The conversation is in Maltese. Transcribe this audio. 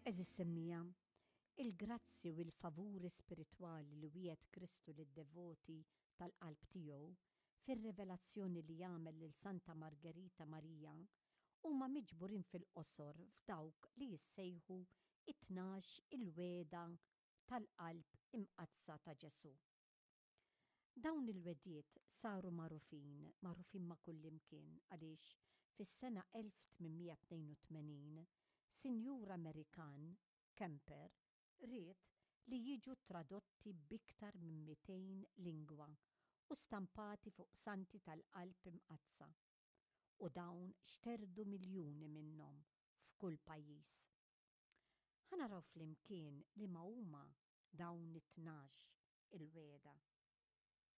Għeżież semmiegħa, il-grazzji u l-favuri spiritwali li wiegħed Kristu lid-devoti tal-qalb tiegħu fir-rivelazzjoni li għamel lil Santa Margerita Marija huma miġburin fil-qosor f'dawk li jissejħu it-tnax il-wegħda tal-Qalb Imqaddsa ta' Ġesù. Dawn il-wegħdiet saru magħrufin, magħrufin ma' kullimkien għaliex fis-sena 1882 sinjur Amerikan, Kemper, ried li jiġu tradotti b'iktar minn 200 lingwa u stampati fuq santi tal-Qalb Imqaddsa. U dawn xterdu miljuni minnhom f'kull pajjiż. Ħa naraw flimkien liema huma dawn it-tnax il-wegħda.